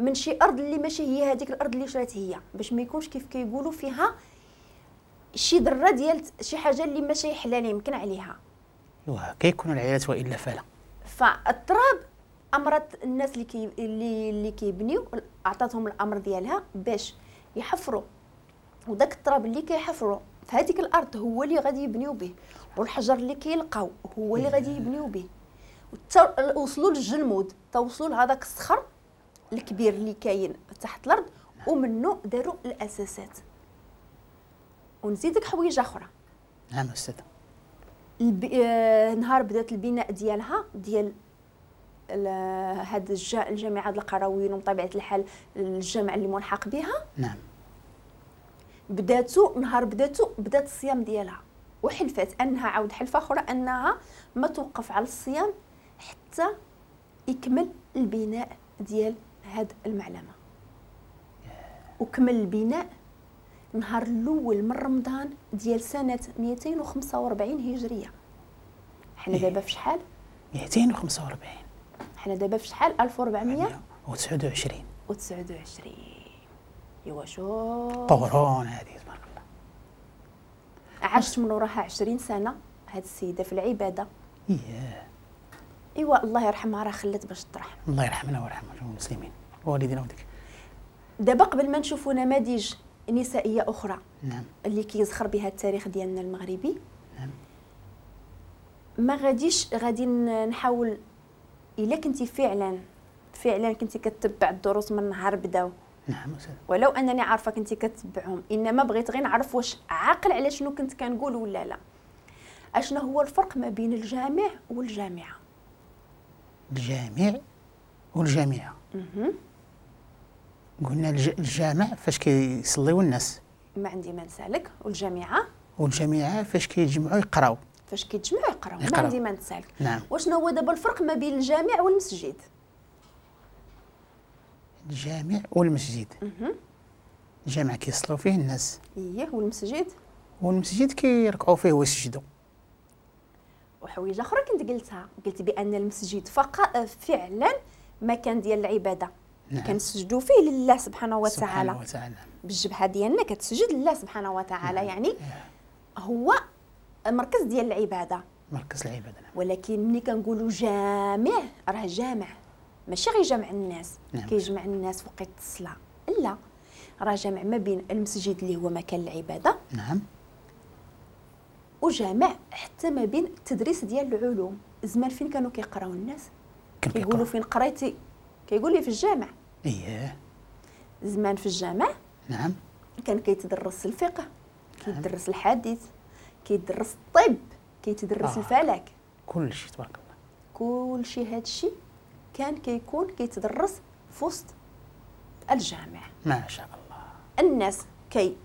من شي ارض اللي ماشي هي هذيك الارض اللي شرات هي، باش ما يكونش كيف كيقولوا فيها شي ذره ديال شي حاجة اللي ماشي حلال يمكن عليها. واه كيكونوا العيالات والا فلا. فالتراب امرت الناس اللي كيبنيو، اعطاتهم الامر ديالها باش يحفروا، وداك التراب اللي كيحفروا في هذيك الارض هو اللي غادي يبنيو به، والحجر اللي كيلقاو هو اللي غادي يبنيو به. وصلوا للجلمود، توصلوا لهذاك الصخر الكبير اللي كاين تحت الارض، ومنه داروا الاساسات. ونزيدك حويجه اخرى. نعم استاذ. نهار بدات البناء ديالها ديال هاد الجامعة القرويين وبطبيعة الحال الجامع اللي ملحق بها. نعم. بداتو نهار بداتو بدات الصيام ديالها، وحلفات انها عاود حلفه اخرى انها ما توقف على الصيام حتى يكمل البناء ديال هاد المعلمة. وكمل البناء نهار الاول من رمضان ديال سنة 245 هجرية. حنا دابا في شحال؟ 245. حنا دابا في شحال؟ 1429 29. ايوا شوف قرون هذه تبارك الله. عاشت من وراها 20 سنة هاد السيدة في العبادة. اييه. ايوا الله يرحمها، راه خلت باش ترحم. الله يرحمنا ويرحم المسلمين والدينا وديك. دابا قبل ما نشوفوا نماذج نسائية اخرى، نعم، اللي كيزخر بها التاريخ ديالنا المغربي، نعم، ما غاديش غادي نحاول. الا كنتي فعلا فعلا كنتي كتبع الدروس من نهار بداو، نعم، ولو انني عارفه كنتي كتبعهم، انما بغيت غير نعرف واش عاقل على شنو كنت كنقول ولا لا. اشنو هو الفرق ما بين الجامع والجامعة؟ الجامع والجامعة. قلنا الجامع فاش كيصليو الناس، ما عندي ما نسالك. والجامعة؟ والجامعة فاش كيتجمعوا يقراو. فاش كيتجمعوا يقراو، ما عندي ما نسالك. نعم. وشنو هو دابا الفرق ما بين الجامع والمسجد؟ الجامع والمسجد. الجامع كيصلوا فيه الناس. اييه. والمسجد؟ والمسجد كيركعوا فيه ويسجدوا. وحويجه اخرى كنت قلتها، قلت بان المسجد فقط فعلا مكان ديال العبادة. نعم. كنسجدوا فيه لله سبحانه وتعالى. سبحانه وتعالى. بالجبهة ديالنا كتسجد لله سبحانه وتعالى. نعم. يعني هو مركز ديال العبادة. مركز العبادة. نعم. ولكن ملي كنقولوا جامع راه جامع ماشي غير جمع الناس. نعم. كيجمع الناس وقت الصلاة، لا، راه جامع ما بين المسجد اللي هو مكان العبادة، نعم، وجامع حتى ما بين التدريس ديال العلوم. زمان فين كانوا كيقراو الناس؟ كيقولوا فين قريتي؟ كيقول لي في الجامع. اييه. زمان في الجامع، نعم، كان كيتدرس الفقه، كيتدرس الحديث، كيتدرس الطب، كيتدرس الفلك، كل شيء تبارك الله. كل شيء هادشي كان كيكون كيتدرس في وسط الجامع. ما شاء الله. الناس كي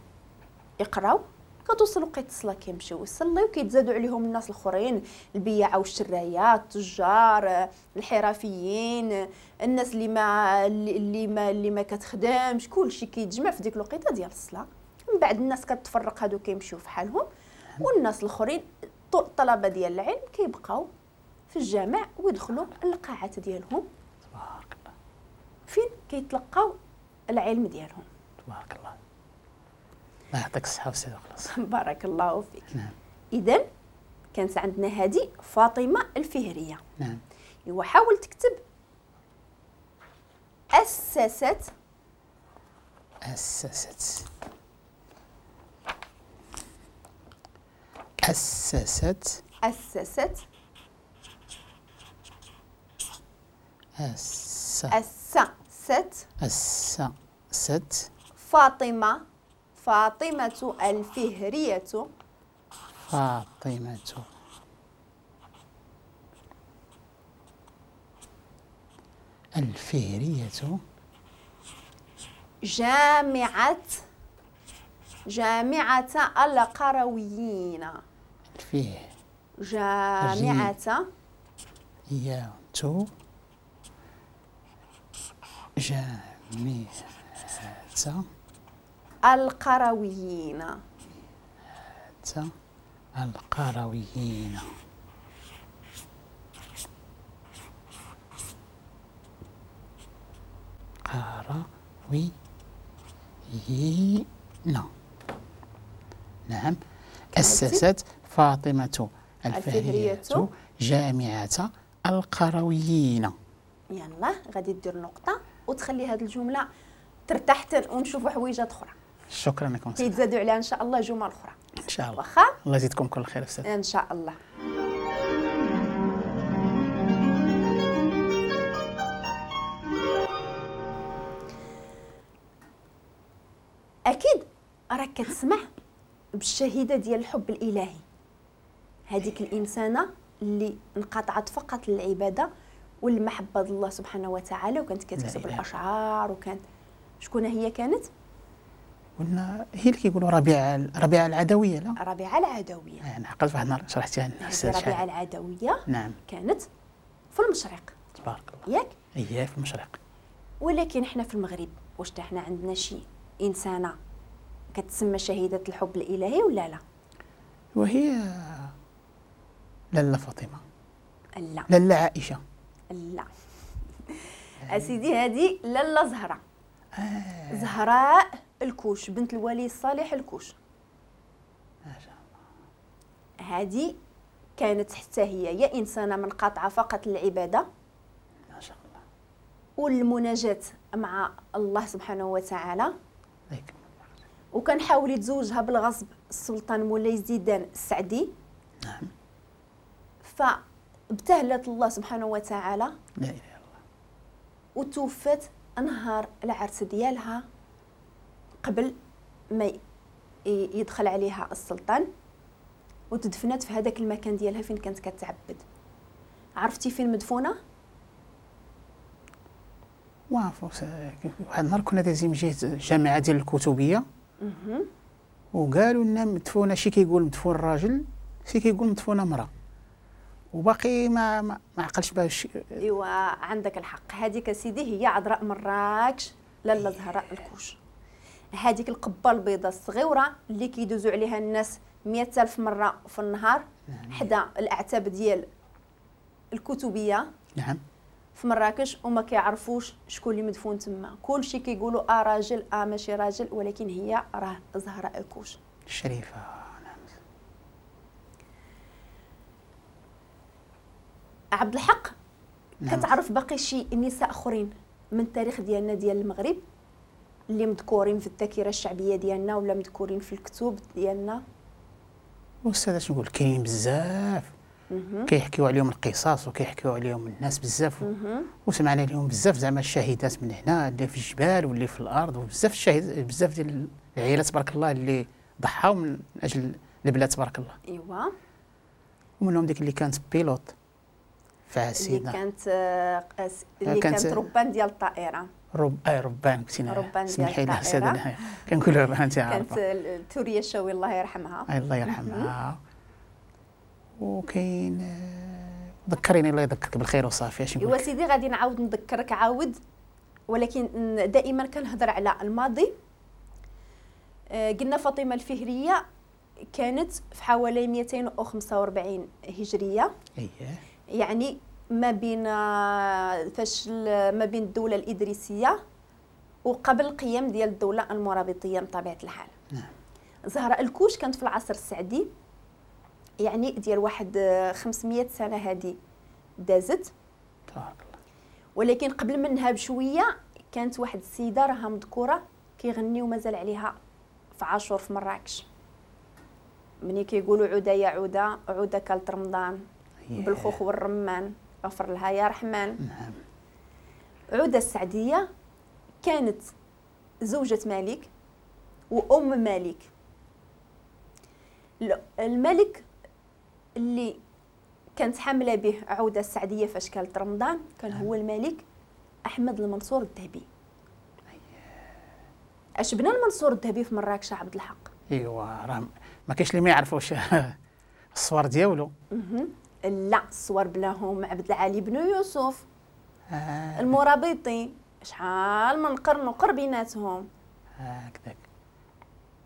يقراو، كتوصل وقيت الصلاة كيمشيو يصليو، كيتزادوا عليهم الناس الاخرين، البياعه والشرايات، التجار، الحرفيين، الناس اللي ما كتخدمش، كلشي كيتجمع في ديك الوقيته ديال الصلاة. من بعد الناس كتفرق، هادو كيمشيو في حالهم، والناس الاخرين الطلبة ديال العلم كيبقاو في الجامع ويدخلوا القاعات ديالهم. تبارك الله. فين كيتلقاو العلم ديالهم. تبارك الله. الله يعطيك الصحة والسعادة وخلاص. بارك الله فيك. نعم. إذا كانت عندنا هذه فاطمة الفهرية. نعم. إيوا حاول تكتب أسست. أسست. أسست. أسست. أسست. أسست. فاطمة، فاطمة الفهرية. فاطمة الفهرية. جامعة، جامعة القرويين. الفيه. جامعة. يا تو. جامعة القرويين. القرويين. القرويين. نعم. أسست فاطمة الفهرية جامعة القرويين. يلا غادي دير نقطة وتخلي هذه الجملة ترتاح ونشوفوا حويجات أخرى. شكرا لكم. كيتزادوا عليها إن شاء الله جمل أخرى. إن شاء الله. واخا؟ الله يزيدكم كل خير أستاذ. إن شاء الله. أكيد راك كتسمع بالشهيدة ديال الحب الإلهي، هذيك الإنسانة اللي انقطعت فقط للعبادة والمحبة الله سبحانه وتعالى، وكانت كتكتب الأشعار، وكانت شكون هي كانت؟ قلنا هي اللي كيقولوا ربيعة العدوية. لا، ربيعة العدوية. أنا عقلت واحد النهار شرحتيها لنا. ربيعة العدوية. نعم. كانت في المشرق. تبارك الله. ياك؟ إيه في المشرق. ولكن حنا في المغرب واش حنا عندنا شي إنسانة كتسمى شهيدة الحب الإلهي ولا لا؟ وهي لاله فاطمة. لا. لاله عائشة. لا. أسيدي هذه لاله زهرة. زهراء الكوش، بنت الولي الصالح الكوش. ما شاء الله. هذه كانت حتى هي يا إنسانة منقطعة فقط للعبادة. ما شاء الله. والمناجاة مع الله سبحانه وتعالى. وكان حاول يتزوجها بالغصب السلطان مولاي زيدان السعدي. نعم. فابتهلت الله سبحانه وتعالى. لا إله إلا الله. وتوفت نهار العرس ديالها قبل ما يدخل عليها السلطان، وتدفنت في هذاك المكان ديالها فين كانت كتعبد. عرفتي فين مدفونة؟ واحد النهار كنا دايزين من جهة الجامعة ديال الكتبيه، وقالوا لنا مدفونة، شي كيقول مدفون راجل، شي كيقول مدفونة امراة، وباقي ما عقلش باش. ايوا عندك الحق. هذيك سيدي هي عذراء مراكش، لاله زهراء الكوش. هذيك القبة البيضاء الصغيرة اللي كيدوزوا عليها الناس 100,000 مرة في النهار. نعم. حدا الاعتاب ديال الكتبيه. نعم. في مراكش، وما كيعرفوش شكون اللي مدفون تما، كلشي كيقولوا راجل ماشي راجل، ولكن هي راه زهراء الكوش الشريفة. نعم. عبد الحق. نعم. كتعرف باقي شي نساء اخرين من التاريخ ديالنا ديال المغرب اللي مذكورين في الذاكرة الشعبية ديالنا ولا مذكورين في الكتب ديالنا؟ أستاذ اش نقول، كاين بزاف كيحكيو عليهم القصص وكيحكيو عليهم الناس بزاف، وسمعنا لهم بزاف زعما الشهيدات من هنا اللي في الجبال واللي في الارض، وبزاف الشهيد بزاف ديال العائلات تبارك الله اللي ضحاو من اجل البلاد تبارك الله. ايوا. ومنهم ديك اللي كانت pilote فاسيده، اللي كانت ربان ديال الطائرة. ربان كنتي ربان ديال سمحي لي الطائرة. كنقولوا انت عارفه. كانت ثورية الشاوي الله يرحمها. الله يرحمها. وكاين ذكريني الله يذكرك بالخير وصافي. اش نقول؟ ايوا سيدي غادي نعاود نذكرك عاود، ولكن دائما كنهضر على الماضي. قلنا فاطمة الفهريه كانت في حوالي 245 هجرية. اييه. يعني ما بين فاش ما بين الدولة الادريسيه وقبل القيام ديال الدولة المرابطيه بطبيعة الحال. نعم. زهراء الكوش كانت في العصر السعدي، يعني ديال واحد 500 سنة هذه دازت. تبارك الله. ولكن قبل منها بشوية كانت واحد السيدة راها مذكورة كيغنيو مازال عليها في عاشور في مراكش، مني كيقولوا عوده يا عوده عوده كالت رمضان بالخوخ والرمان غفر لها يا رحمن. نعم. عوده السعديه كانت زوجة مالك وام مالك. الملك اللي كانت حامله به عوده السعديه فاش كانت رمضان كان هو الملك احمد المنصور الذهبي. اش بنى المنصور الذهبي في مراكش عبد الحق؟ ايوا راه ما كاينش اللي ما يعرفوش الصور ديالو. لا الصور بناهم عبد العالي بن يوسف المرابطي، شحال من قرن وقر بيناتهم. هكذاك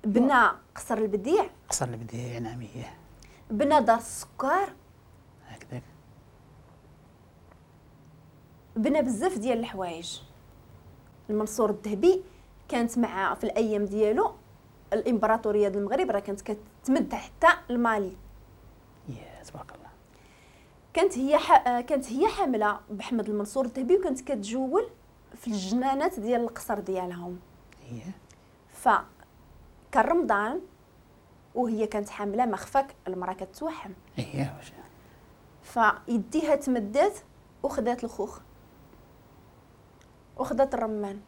بنى قصر البديع. قصر البديع نعم. هي بنى دار السكر هكذاك. بنى بزاف ديال الحوايج. المنصور الذهبي كانت مع في الايام ديالو الامبراطورية ديال المغرب راه كانت كتمد حتى المالي. يا تبارك الله. كانت هي حامله بحمد المنصور الذهبي، وكانت كتجول في الجنانات ديال القصر ديالهم. ف كان رمضان وهي كانت حامله، ما خفاك المراة كتوحم. فيديها تمدات وخدات الخوخ وخدات الرمان،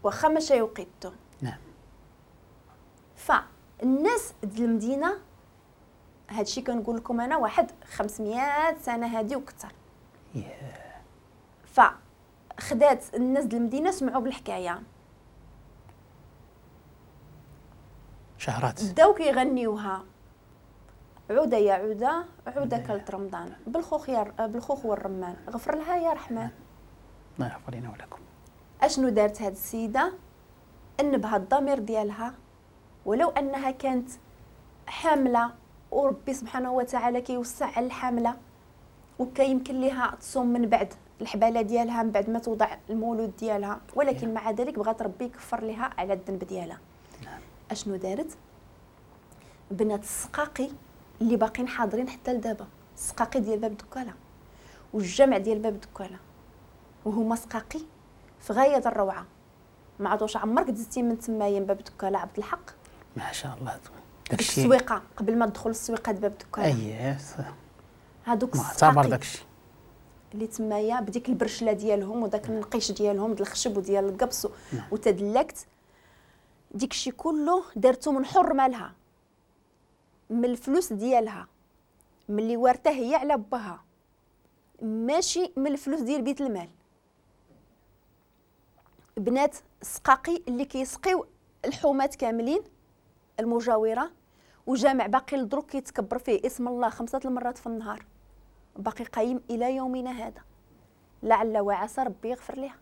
واخا ماشي وقيتو. نعم. فالناس ديال المدينة، هادشي كنقول لكم انا واحد 500 سنة هادي وكثر. فخدات الناس ديال المدينة سمعوا بالحكاية، شهرات بداو كيغنيوها، عوده يا عوده عوده كلت رمضان، بالخوخ والرمان، غفر لها يا رحمن. الله يغفر لنا ولكم. اشنو دارت هاد السيدة؟ انبها الضمير ديالها، ولو انها كانت حامله، وربي سبحانه وتعالى كيوسع على الحاملة، وكيمكن ليها تصوم من بعد الحباله ديالها، من بعد ما توضع المولود ديالها، ولكن مع ذلك بغات ربي يكفر لها على الذنب ديالها. اشنو دارت؟ بنات السقاقي اللي باقين حاضرين حتى لدابا، السقاقي ديال باب دكاله والجمع ديال باب دكاله، وهما سقاقي في غاية الروعة. ما عادوش عمرك دزتي من تمايا باب دكاله عبد الحق؟ ما شاء الله. داكشي السويقه قبل ما تدخل السويقه باب دكاله. اييه هادوك معتبر داكشي اللي تمايا بديك البرشله ديالهم وداك النقيش ديالهم ديال الخشب وديال القبص وتدلكت، ديكشي كله دارتو من حر مالها، من الفلوس ديالها، من اللي وارته هي على باها، ماشي من الفلوس ديال بيت المال. بنات السقاقي اللي كيسقيو الحومات كاملين المجاورة، وجامع باقي لدروك كيتكبر فيه اسم الله 5 المرات في النهار، باقي قايم الى يومنا هذا، لعل وعسى ربي يغفر لها.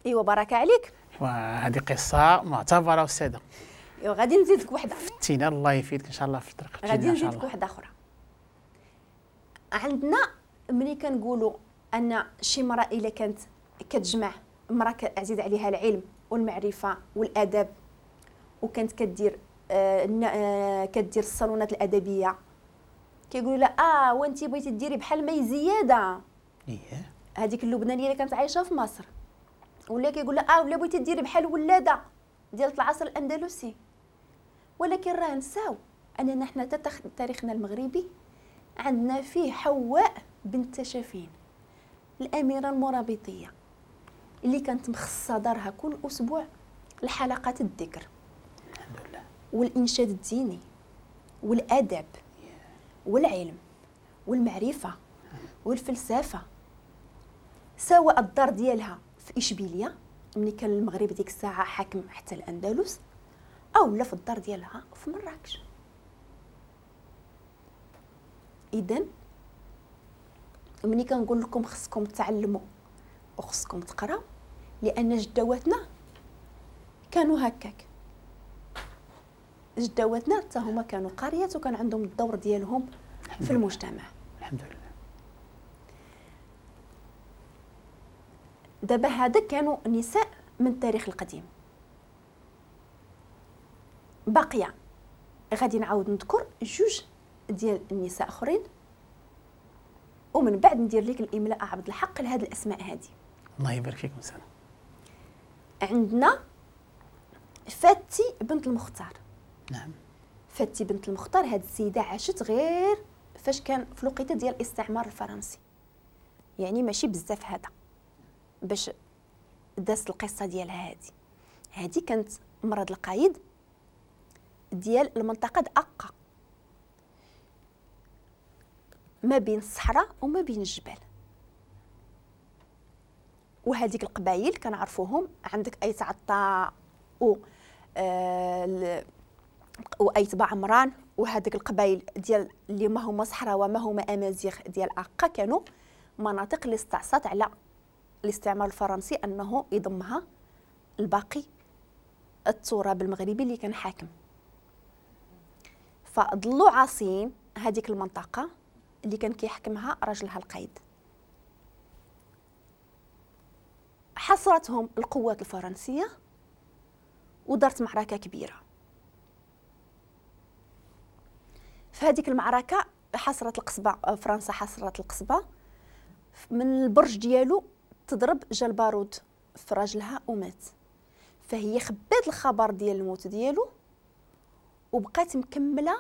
ايوا بركة عليك. وهذه قصة معتبره استاذه. ايوا غادي نزيدك وحده. فتينا الله يفيدك ان شاء الله في الطريق. غادي نزيدك وحده اخرى. عندنا ملي كنقولوا ان شي مراة الا كانت كتجمع، مراة عزيز عليها العلم والمعرفة والادب، وكانت كدير كدير الصالونات الادبية، كيقولوا لها وانت بغيتي ديري بحال مي زيادة. اييه هذيك اللبنانية اللي كانت عايشه في مصر، ولا كيقول لها ولا بغيتي ديري بحال ولاده ديال العصر الاندلسي. ولكن راه نساو اننا حنا تاريخنا المغربي عندنا فيه حواء بنت تشافين، الاميرة المرابطيه اللي كانت مخصصة دارها كل اسبوع لحلقات الذكر، الحمد لله، والانشاد الديني والادب والعلم والمعرفة والفلسفة. سواء الدار ديالها في اشبيلية ملي كان المغرب ديك الساعة حاكم حتى الاندلس، او لا في الدار ديالها في مراكش. اذا ملي كنقول لكم خصكم تعلموا وخصكم تقراو، لان جدواتنا كانوا هكاك، جدواتنا حتى هما كانوا قاريات وكان عندهم الدور ديالهم في المجتمع. الحمد لله. دابا هذا كانوا نساء من التاريخ القديم. باقية غادي نعاود نذكر جوج ديال النساء اخرين، ومن بعد ندير لك الاملاء عبد الحق لهاد الاسماء هذه. الله يبارك فيكم. سنة عندنا فاتي بنت المختار. نعم. فاتي بنت المختار هاد السيدة عاشت غير فاش كان في الوقيته ديال الاستعمار الفرنسي، يعني ماشي بزاف هذا باش دازت القصة ديالها. هادي كانت مرض القايد ديال المنطقة د اقا، ما بين الصحراء وما بين الجبال. وهذيك القبائل كنعرفوهم، عندك ايت عطا و وايت بعمران، وهذيك القبائل ديال اللي ما هما صحراء وما هما امازيغ ديال اقا، كانوا مناطق اللي استعصت على الاستعمار الفرنسي انه يضمها الباقي التراب المغربي اللي كان حاكم. فضلوا عاصيين هذيك المنطقة اللي كان كيحكمها راجلها القايد. حصرتهم القوات الفرنسية ودارت معركة كبيرة. في هذيك المعركة حصرت القصبة، فرنسا حصرت القصبة، من البرج ديالو تضرب جا البارود في راجلها ومات. فهي خبات الخبر ديال الموت ديالو وبقات مكملة